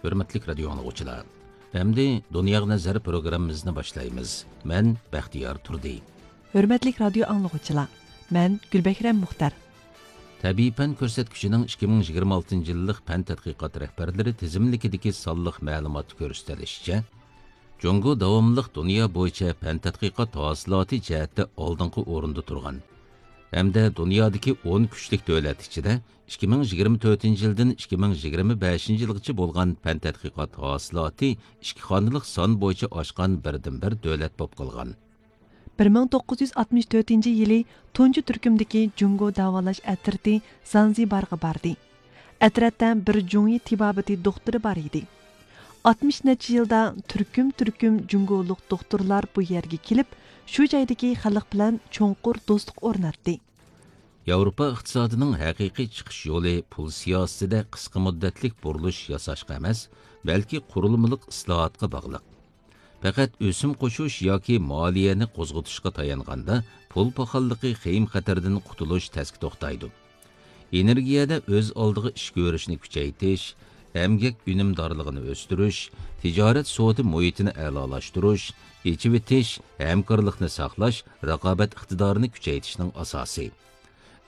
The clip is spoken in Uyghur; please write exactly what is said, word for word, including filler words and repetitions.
ھۆرمەتلىك رادىيو ئاڭلىغۇچىلار، ئەمدى دۇنياغا نەزەر پروگراممىمىزنى باشلايمىز. مەن بەختىيار تۇردى. ھۆرمەتلىك رادىيو ئاڭلىغۇچىلار، مەن گۈلبەھرەم مۇختەر. تەبىئىي پەن كۆرسەتكۈچىنىڭ ئىككى مىڭ يىگىرمە ئالتىنچى يىللىق پەن تەتقىقات رەھبەرلىرى تىزىملىكىدىكى سانلىق مەلۇماتتا كۆرسىتىلىشىچە، جۇڭگو داۋاملىق دۇنيا بويىچە پەن تەتقىقات ھاسىلاتى جەھەتتە ئالدىنقى ئورۇندا تۇرغان ھەمدە دۇنيادىكى ئون كۈچلۈك دۆلەت ئىچىدە ئىككى مىڭ يىگىرمە تۆتىنچى يىلدىن ئىككى مىڭ يىگىرمە بەشىنچى يىلغىچە بولغان پەن تەتقىقات ھاسىلاتى ئىككى خانىلىق سان بويىچە ئاشقان بىردىنبىر دۆلەت بولۇپ قالغان. بىر مىڭ توققۇز يۈز ئاتمىش تۆتىنچى يىلى تۇنجى تۈركۈمدىكى جۇڭگو داۋالاش ئەترىتى زانزىبارغا باردى. ئەترەتتە بىر جۇڭيى تېبابىتى دوختۇرى بار ئىدى. ئاتمىش نەچچە يىلدا تۈركۈم-تۈركۈم جۇڭگولۇق دوختۇرلار بۇ يەرگە كېلىپ، شۇ جايدىكى خەلق بىلەن چوڭقۇر دوستلۇق ئورناتتى. ياۋروپا ئىقتىسادىنىڭ ھەقىقىي چىقىش يولى پۇل سىياسىتىدە قىسقا مۇددەتلىك بۇرۇلۇش ياساشقا ئەمەس، بەلكى قۇرۇلمىلىق ئىسلاھاتقا باغلىق. پەقەت ئۆسۈم قوشۇش ياكى مالىيەنى قوزغىتىشقا تايانغاندا، پۇل پاخاللىقى خېيىم-خەتىرىدىن قۇتۇلۇش تەسكە توختايدۇ. ئېنېرگىيەدە ئۆز ئالدىغا ئىش كۆرۈشنى كۈچەيتىش، ئەمگەك ئۈنۈمدارلىقىنى ئۆستۈرۈش، تىجارەت سودا مۇھىتىنى ئەلالاشتۇرۇش، ئېچىۋېتىش، ھەمكارلىقنى ساقلاش، رىقابەت ئىقتىدارىنى كۈچەيتىشنىڭ ئاساسى.